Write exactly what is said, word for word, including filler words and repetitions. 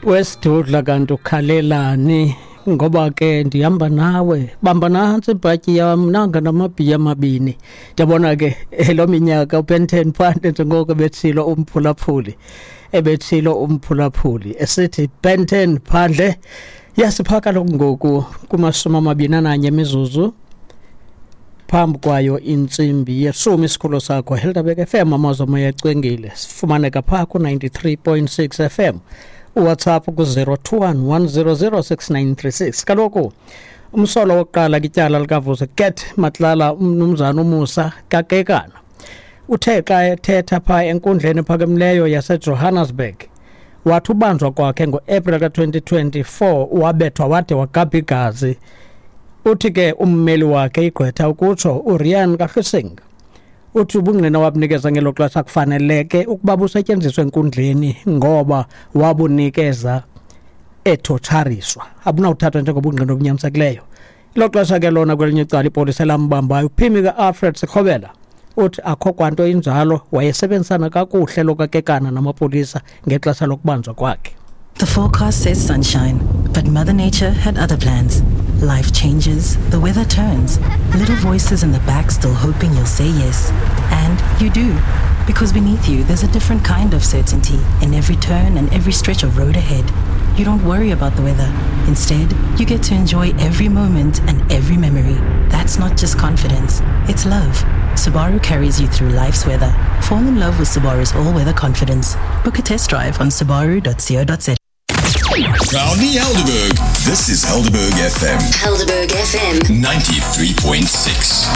Wesidudla kanti ukhalelani ngoba ke ndihamba nawe, bamba nantsi ibhatyi yam nanga namabhiya amabini. Ndiyabona ke lo minyaka uBen ten phandle, njengoko ebetshilo umphulaphuli ebetshilo umphulaphuli esithi Ben ten phandle. Yasiphaka kaloku ngoku kumashumi amabini ananye imizuzu phambi kwayo intsimbi yeshumi. Isikhululo sakho Helderberg F M, amazwi omoya ecwengile. Sifumaneka phaa ku-ninety-three point six F M, uWhatsApp ku-zero two one one zero zero six nine three six. Kaloku umsolo wokuqala kwityala likaVusi Cat Matlala, umnumzana uMusa Kakekana, uthe xa ethetha phaa enkundleni ephakamileyo yaseJohannesburg wathi ubanjwa kwakhe ngoApril ka-twenty twenty-four wabethwa wade wagabha igazi. Uthi ke ummeli wakhe, igqwetha ukutsho uRian Kahlusing, uthi ubungqina wabunikeza ngelo xesha kufaneleke ukuba busetyenziswe enkundleni ngoba wabunikeza ethotshariswa, abunawuthathwa njengobungqina obunyanisekileyo. Ilo xesha ke lona kwelinye icala ipolisa elambambayo uphimi ka-Alfred Sikhobela uthi akho kwanto injalo, wayesebenzisana kakuhle lo kaKekana namapolisa ngexesha lokubanjwa kwakhe. The forecast says sunshine, but Mother Nature had other plans. Life changes, the weather turns, little voices in the back still hoping you'll say yes. And you do. Because beneath you, there's a different kind of certainty in every turn and every stretch of road ahead. You don't worry about the weather. Instead, you get to enjoy every moment and every memory. That's not just confidence, it's love. Subaru carries you through life's weather. Fall in love with Subaru's all-weather confidence. Book a test drive on subaru dot co dot za. Proudly Helderberg. This is Helderberg F M. Helderberg F M. ninety-three point six.